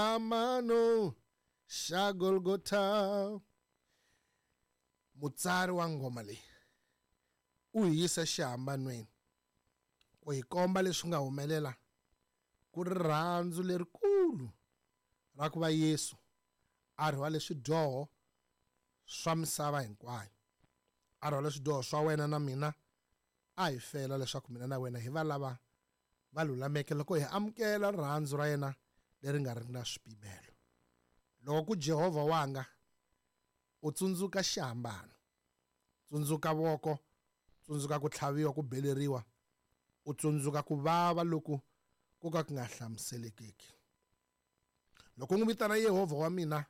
Amano xa Golgotha. Mutsari wa nghoma leyi u hi yisa xihambanweni ku hi komba leswi nga humelela ku ri rirhandzu lerikulu ra ku va Yesu a rhwale swidyoho swa misava hinkwayo, a rhwale swidyoho swa wena na mina, a hi fela leswaku mina na wena hi va lava va lulameke loko hi amukela rirhandzu ra yena leri nga ri na swipimelo. Loko ku Jehovha wanga, u tsundzuka xihambano, tsundzuka voko, tsundzuka ku tlhaviwa, ku beleriwa, u tsundzuka ku vava loku ku ka ku nga hlamuselekeki. Loko u n'wi vitana Yehovha wa mina,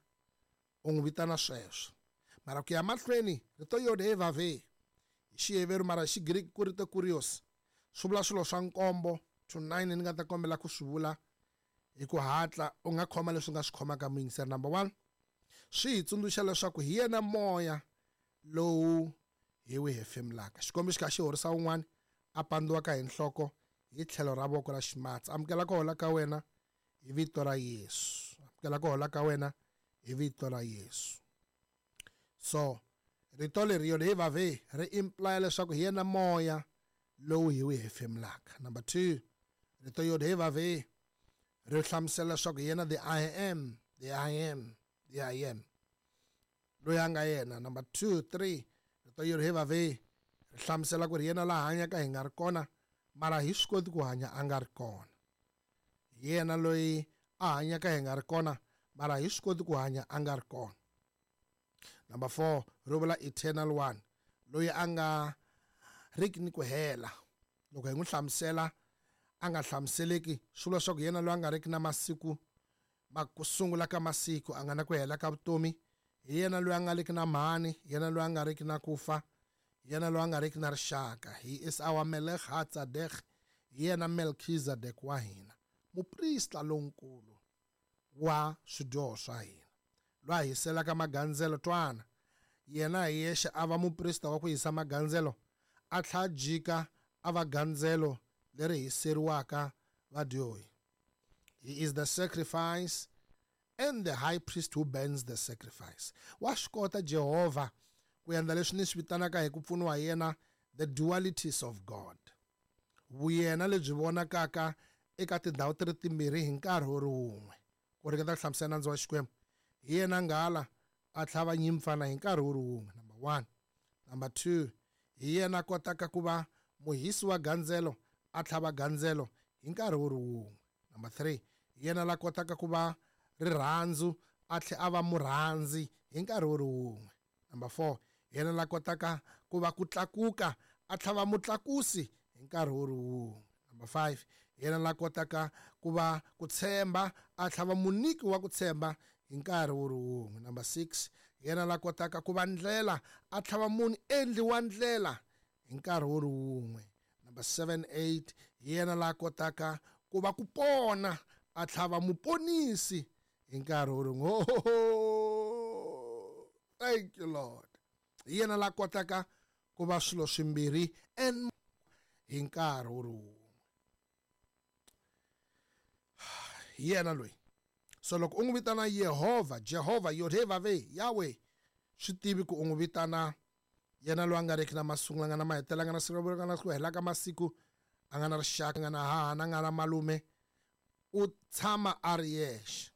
u n'wi vitana sweswo. Mara ku ya mahlweni, rito Yod-Heh-Vaveh hi Xiheveru mara hi Xigriki ku rito Kurios swi vula swilo swa nkombo to 9 ni nga ta kombela ku swi vula hi ku hatla. U nga khoma leswi u nga swi khomaka muyingiseri. Number 1, swi hi tsundzuxa leswaku hi yena moya lowu hi wu hefemulaka. Xikombiso xi kha xi horisa un'wana a pandziwaka hi nhloko hi tlhelo ra voko ra ximatsi. Amukela ku hola ka wena hi vito ra Yesu. Amukela ku hola ka wena hi vito ra Yesu. So rito leri Yod-Heh-Vaveh ri imply leswaku hi yena moya lowu hi wu hefemulaka. Number 2, rito Yod-Heh-Vaveh ri hlamusela leswaku hi yena the I am, the I am, the I am, loyi a nga yena. Number 2, 3, rito Yod-Heh-Vaveh ri hlamusela ku ri yena laha hanyaka hi nga ri kona, mara hi swi koti ku hanya a nga ri kona. Hi yena loyi a hanyaka hi nga ri kona, mara hi swi koti ku hanya a nga ri kona. Number 4, ri vula eternal one, loyi a nga riki ni ku hela. Loko hi n'wi hlamusela a nga hlamuseleki, swi vula leswaku yena loyi a nga riki na masiku ma ku sungula ka masiku, a nga na ku hela ka vutomi. Hi yena loyi a nga riki na mhani, yena loyi a nga riki na ku fa, yena loyi a nga riki na rixaka. He is our Melech HaTzadek, hi yena Melchizedek wa hina, muprista lonkulu wa swidyoho swa hina, loyi a hiselaka magandzelo. Twana, yena hi yexe a va muprista wa ku hisa magandzelo, a tlhela jika a va gandzelo leri hiseriwaka vadyohi. He is the sacrifice and the high priest who burns the sacrifice. Wa swi kota Jehovha ku endla leswi ni swi vitanaka hi ku pfuniwa hi yena the dualities of God. Vuyena lebyi vonakaka eka tindhawu ti ri timbirhi hi nkarhi wu ri wun'we. Ku ringeta ku hlamusela nandzu wa Xikwembu, hi yena nghala a tlhava nyimpfana hi nkarhi wu ri wun'we. Number 1. Number 2, hi yena a kotaka ku va muhisi wa gandzelo a tlhava gandzelo hi nkarhi wu ri wun'we. Number 3, hi yena la kotaka ku va rirhandzu a tlhe a va murhandzi hi nkarhi wu ri wun'we. Number 4, hi yena la kotaka ku va ku tlakuka a tlhava mutlakusi hi nkarhi wu ri wun'we. Number 5, hi yena la kotaka ku va ku tshemba a tlhava muniki wa ku tshemba hi nkarhi wu ri wun'we. Number 6, hi yena la kotaka ku va ndlela a tlhava munhu endli wa ndlela hi nkarhi wu ri wun'we. Number 7, 8, hi yena la kotaka ku va ku pona a tlhava muponisi hi nkarhi wu ri wun'we. Oh, thank you Lord. Hi yena la kotaka ku va swilo swimbirhi and hi nkarhi wu ri wun'we. Hi yena loyi. So loko u n'wi vitana Yehovha, Jehovha, Yod-Heh-Vaveh, Yahweh, swi tivi ku u n'wi vitana yena loyi a nga riki na masungulo, a nga na mahetelo, a nga na siku ra nga na ku hela ka masiku, a nga na rixaka, a nga na hahana, a nga na malume, u tshama a ri yexe.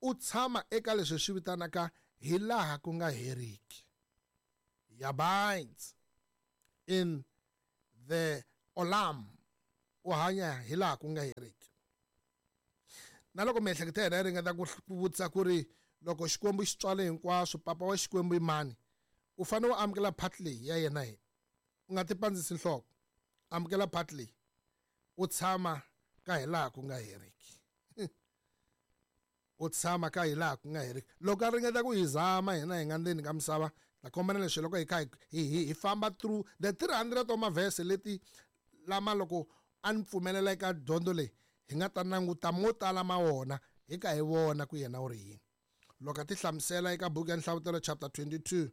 U tshama eka leswi swi vitanaka hi laha ku nga heriki. He abides in the Olam. U hanya hi laha ku nga heriki. Na loko miehleketo ya hina yi ringeta ku vutisa ku ri loko Xikwembu xi tswale hinkwaswo, papa wa Xikwembu i mani, u fanele u amukela part leyi ya yena hi. U nga ti pandzisi nhloko. Amukela part leyi. U tshama ka hi laha ku nga heriki. U tshama ka hi laha ku nga heriki. Loko a ringeta ku hi zama hina hi nga ndzeni ka misava, ta kombela leswi loko hi kha hi famba through the 300 wa mavhese leti lama loko a ni pfumelela eka dyondzo leyi, hi nga ta languta mo tala ma wona hi ka hi vona ku yena u ri yini. Loko a ti hlamusela eka buku ya Nhlavutelo chapter 22,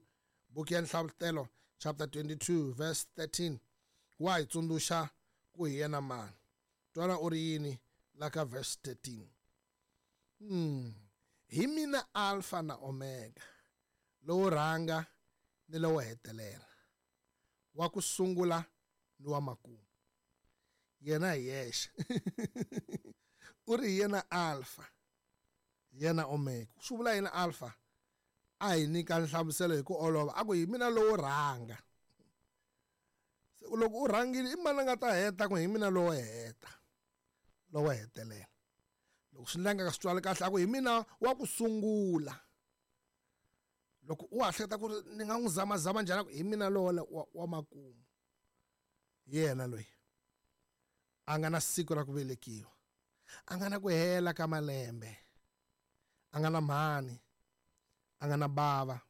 buku ya Nhlavutelo chapter 22 verse 13, wa hi tsundzuxa ku hi yena mani. Twana u ri yini la ka verse 13. Hi mina Alpha na Omega, lowo rhanga ni lowo hetelela, wa ku sungula ni wa makumu. Yena hi yexe. U ri hi yena Alpha, yena Omega. Swi vula yena Alpha? A hi nyika nhlamuselo hi ku olova, a ku hi mina lowo rhanga. Se loko u rhangile, i mani a nga ta heta? Ku hi mina lowo heta, lowo hetelela. Loko swi ndlanga swi twali kahle, a ku hi mina wa ku sungula. Loko u ha hleketa ku ri ni nga n'wi zamazama njhani, a ku hi mina lowo wa makumu. Yena loyi a nga na siku ra ku velekiwa, a nga na ku hela ka malembe, a nga na mhani, a nga na bava,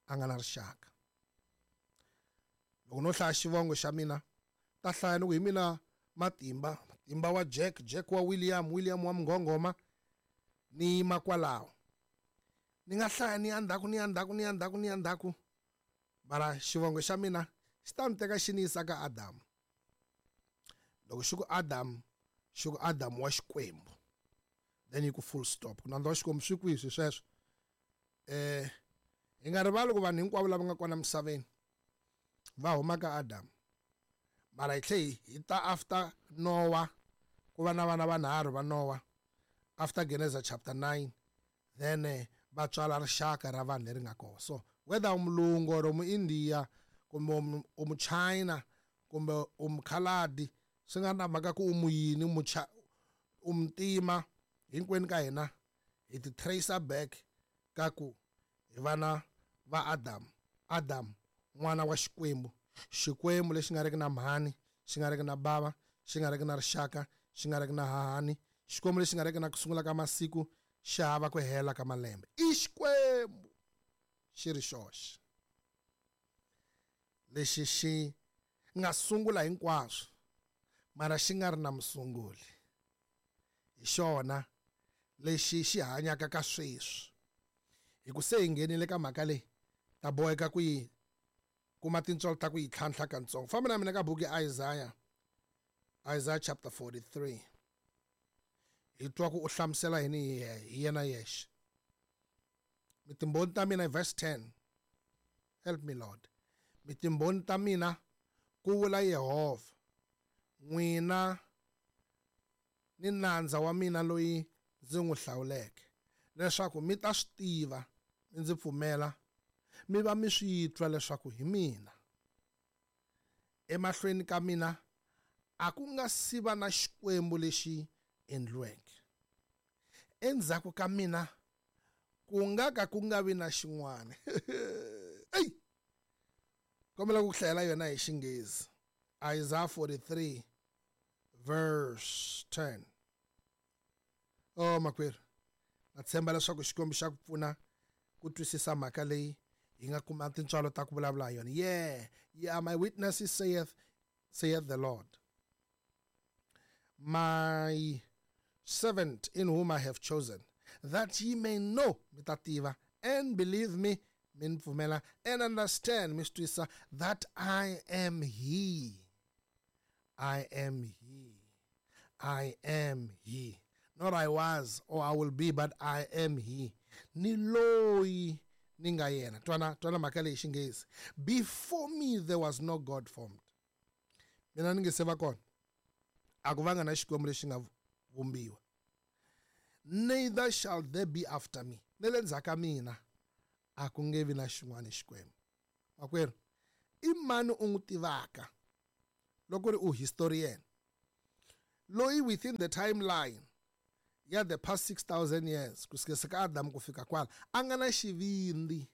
a nga na rixaka. Loko no hlaya xivongo xa mina, ta hlaya ni ku hi mina Matimba, Matimba wa Jack, Jack wa William, William wa Mngongoma, ni yima kwalaho. Ni nga hlaya ni ya ndzhaku, ni ya ndzhaku, ni ya ndzhaku, ni ya ndzhaku, mara xivongo xa mina xi ta ni teka xi ni yisa ka Adamu. Loko xi ku Adamu, xi ku Adamu wa Xikwembu, then yi ku full stop. Ku nandza wa Xikwembu swi kwihi swi sweswo? Hi nga rivali ku vanhu hinkwavo lava nga kona misaveni va huma ka Adamu, mara hi tlhe hi ta after Noah, ku va na vana vanharhu va Noah after Genesis chapter 9, then va tswala rixaka ra vanhu leri nga kona. So whether u mulungu or u muindiya kumbe u muchina kumbe u mukhaladi, swi nga na mhaka ku u muyini, u muntima, hinkwenu ka hina hi ti tracer back ka ku hi vana va Adam. Adam n'wana wa Xikwembu, Xikwembu lexi nga riki na mhani, xi nga riki na bava, xi nga riki na rixaka, xi nga riki na hahani, Xikwembu lexi nga riki na ku sungula ka masiku, xi hava ku hela ka malembe. I Xikwembu xi ri xoxe lexi xi nga sungula hinkwaswo, mara xi nga ri na musunguli. Hi xona lexi xi hanyaka ka sweswi. Hi ku se hi nghenile ka mhaka leyi, ta boheka ku yi kuma tintswalo ta ku yi tlhantlha katsongo. Famba na mina ka buku ya Isaiah, Isaiah chapter 43. Hi twa ku u hlamusela yini hi yena yexe. Mi timbhoni ta mina, verse 10. Help me Lord. Mi timbhoni ta mina, ku vula Yehovha, n'wina ni nandza wa mina loyi ndzi n'wi hlawuleke, leswaku mi ta swi tiva, mi ndzi pfumela, mi va mi swi twa leswaku hi mina. Emahlweni ka mina a ku nga si va na xikwembu lexi endliweke, endzhaku ka mina ku nga ka ku nga vi na xin'wana. Ey, kombela ku hlayela yona hi Xinghezi. Isaiah 43 verse 10. Oh makwerhu, na tshemba leswaku Xikwembu xa ku pfuna ku twisisa mhaka leyi hi nga kuma tintswalo ta ku vulavula hi yona. Yeah, yeah, my witnesses, saith the Lord, my servant in whom I have chosen, that ye may know, mi ta tiva, and believe me, mi ni pfumela, and understand, mi swi twisisa, that I am he. I am he. I am he. Not I was or I will be, but I am he. Ni loyi ni nga yena. Twana, twana mhaka leyi Xinghezi. Before me there was no God formed. Mina ni nge se va kona, a ku vanga na Xikwembu lexi nga vumbiwa. Neither shall there be after me. Ne le ndzhaku ka mina a ku nge vi na xin'wana Xikwembu. Makwerhu, i mani u n'wi tivaka loko ri u historian loyi within the timeline ya the past 6000 years ku sukela ka Adam ku fika kwala a nga na xivindzi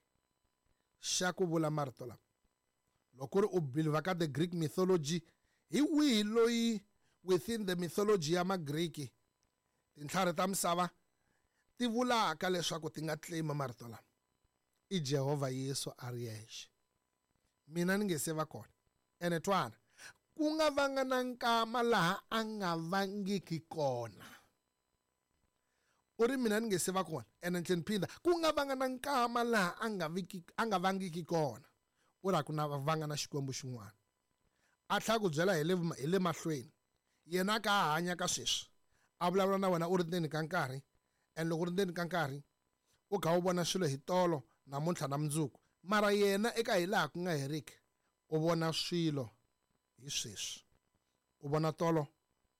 xa ku vula marito lama? Loko ri u believe ka the Greek mythology, hi wihi loyi within the mythology ya Magriki, tintlhari ta misava ti vulaka leswaku ti nga claim marito lama? I Jehovha Yesu a ri yexe. Mina ni nge se va kona, ene twana, ku nga vanga na nkama laha a nga vangiki kona. U ri mina ni nge se va kona, ene ni tlhela ni phinda, ku nga vanga na nkama laha a nga vangiki kona. U ri a ku na vanga na Xikwembu xin'wana. A tlhela ku byela hi le mahlweni, yena ka hanya ka sweswi, a vulavula na wena u ri ndzeni ka nkarhi. And loko ri ndzeni ka nkarhi u kha u vona swilo hi tolo namuntlha na mundzuku mara yena eka hi laha ku nga heriki u vona swilo hi sweswi u vona tolo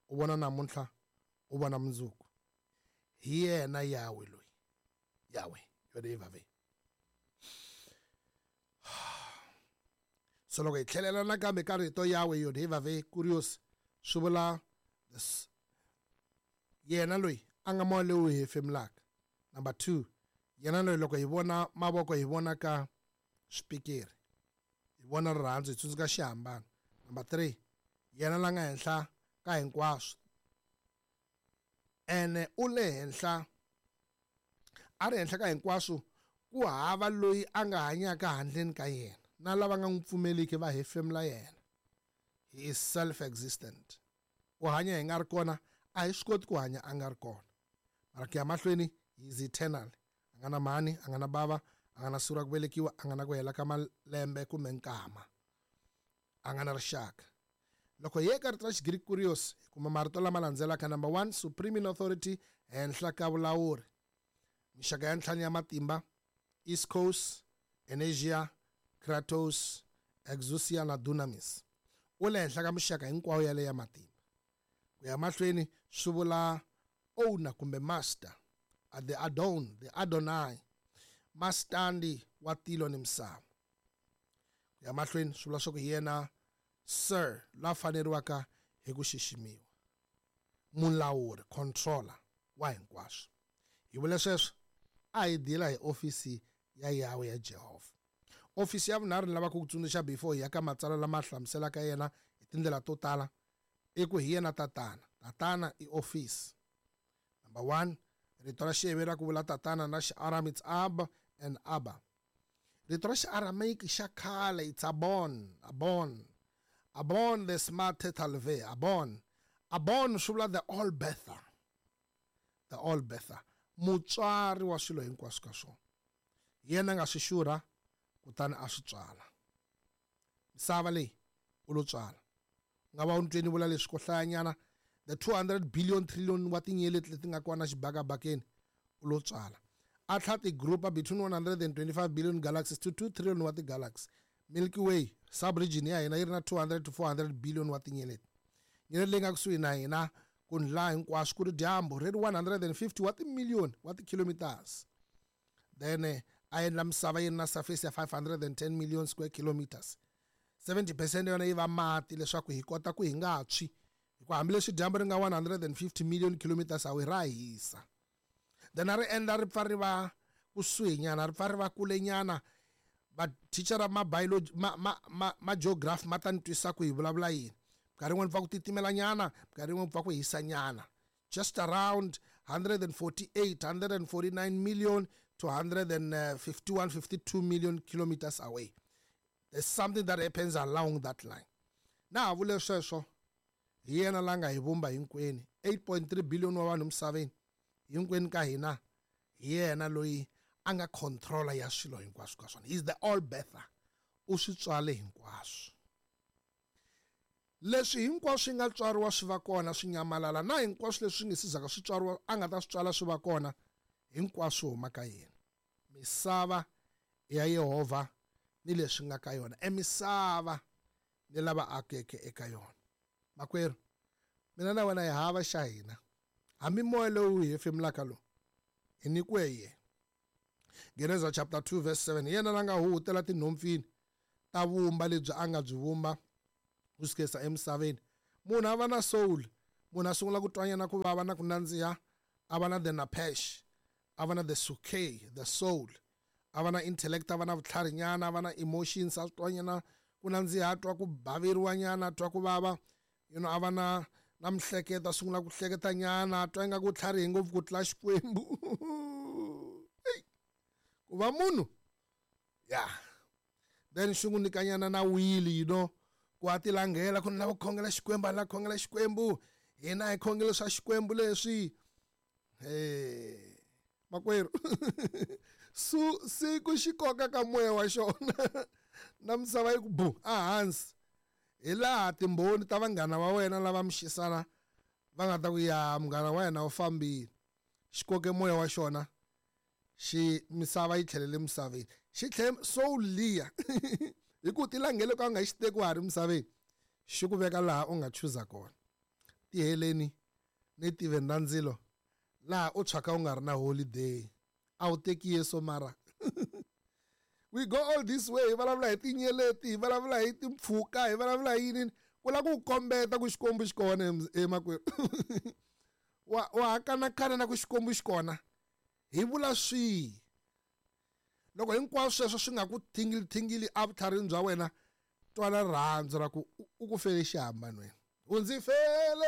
u vona namuntlha u vona mundzuku hi yena Yahweh loyi Yahweh Yodevave so loko hi tlhelela nakambe ka rito Yahweh Yodevave Kurios swi vula yena loyi a nga moya lowu hefemulaka number 2 yena loyi loko hi vona mavoko hi vona ka swipikiri hi vona rirhandzu hi tsundzuka xihambano number 3 yena la nga henhla ka hinkwaswo ene u le henhla a ri henhla ka hinkwaswo ku hava loyi a nga hanyaka handleni ka yena na lava nga n'wi pfumeliki va hefemula yena he is self existent u hanya hi nga ri kona a hi swi koti ku hanya a nga ri kona mara ku ya mahlweni he is eternal a nga na mhani a nga na bava a nga na siku ra ku velekiwa a nga na ku hela ka malembe kumbe nkama a nga na rixaka loko hi eka rito ra Xigiriki kurios hi kuma marito lama landzelaka number 1 supreme in authority henhla ka vulawuri mixaka ya ntlhanu ya matimba east coast energia kratos exousia na dunamis u le henhla ka mixaka hinkwayo yaleyo ya matimba ku ya mahlweni swi vula owner kumbe master the adon the adonai mastandi wa tilo ni misava ku ya mahlweni swi vula swa ku hi yena sir la faneriwaka hi ku xiximiwa mulawuri controller wa hinkwaswo hi vule sweswo a hi dila hi ofisi ya Yahweh ya Jehovha ofisi ya vunharhu ni lava ku tsundzuxa before hi ya ka matsalwa lama hlamuselaka yena hi tindlela to tala i ku hi yena tatana tatana i ofisi number 1 rito ra Xiheveri ra ku vula tatana na Xiaram it's ab and abba rito ra Xiaramaic xa khale it's abon abon abon the smart tetalve abon abon swi vula the all bether the all bether mutswari wa swilo hinkwaswo ka swona yena nga swi xurha kutani a swi tswala misava leyi u lo tswala u nga va u ntweni vula leswi ko hlayanyana the 200 billion trillion wa tinyeleti leti nga kona xibakabakeni u lo tswala a tlha ti-groupa between 125 billion galaxies to 2 trillion wa ti-galaxy Milky Way subregion ya hina yi ri na 200 to 400 billion wa tinyeleti nyeleti leyi nga kusuhi na hina ku ndla hinkwaswo ku ri dyambu ri ri 150 wa timiliyoni wa ti-kilometers then a endla misava yi ri na surface ya 510 million square kilometers 70% ya yona yi va mati leswaku hi kota ku hi nga tshwi hikuva hambileswi dyambu ri nga 150 million kilometers away ra hisa then a ri endla ri pfa ri va kusuhi nyana ri pfa ri va kule nyana mathicara ma biology ma ma ma ma geography ma ta ni twisa ku hi vulavula yini minkarhi yin'wani pfa ku titimela nyana minkarhi yin'wani pfa ku hisa nyana just around 148 149 million to 151 52 million kilometers away there's something that happens along that line na ha vule sweswo hi yena la nga hi vumba hinkwenu 8.3 billion wa vanhu misaveni hinkwenu ka hina hi yena loyi a nga controller ya swilo hinkwaswo ka swona he is the all bether u swi tswale hinkwaswo leswi hinkwaswo swi nga tswariwa swi va kona swi nyamalala na hinkwaswo leswi nge sizaka swi tswariwa a nga ta swi tswala swi va kona hinkwaswo huma ka yena misava ya Yehovha ni leswi nga ka yona emisava ni lava akeke eka yona makwerhu mina na wena hi hava xa hina hambi moya lowu hi hefemulaka lowu hi nyikiwe yena Genesis chapter 2 verse 7 yena la nga huhutela tinhompfini ta vumba lebyi a nga byi vumba ku sukisa emisaveni munhu a va na soul munhu a sungula ku twanyana ku vava na ku nandziha a va na the napesh a va na the suke the soul a va na intellect a va na vutlharinyana a va na emotions a twanyana ku nandziha a twa ku baveriwanyana a twa ku vava you know a va na na mihleketo a sungula ku hleketanyana a twa ingaku tlharihe ngopfu ku tlula Xikwembu ku va munhu ya then xi n'wi nyikanyana na wili you know ku a tilangela ku ni lava ku khongela Xikwembu a ni lava ku khongela Xikwembu hina hi khongelo swa Xikwembu leswi he makwerhu su siku xi koka ka moya wa xona na misava yi ku bu ehansi hi laha timbhoni ta vanghana va wena lava mi xisana va nga ta ku ya munghana wa yena u fambile Xi koke moya wa xona, xi misava yi tlhelele misaveni. Xi tlhele soul liya hi ku tilangele ka u nga xi teki wa ha ri misaveni, xi ku veka laha u nga chuza kona. Tiheleni ni tiveni ra ndzilo laha u tshwaka u nga ri na holiday. A wu teki Yesu mara. We go all this way, hi vulavula hi tinyeleti, hi vulavula hi timpfhuka, hi vulavula hi yini, ku lava ku kombeta ku Xikwembu xi kona emakwerhu. Wa ha kanakana na ku Xikwembu xi kona. Hi vula swihi? Loko hinkwaswo sweswo swi nga ku thingili thingili evutlharini bya wena, twala rirhandzu ra ku u ku fele xihambanweni. U ndzi fele.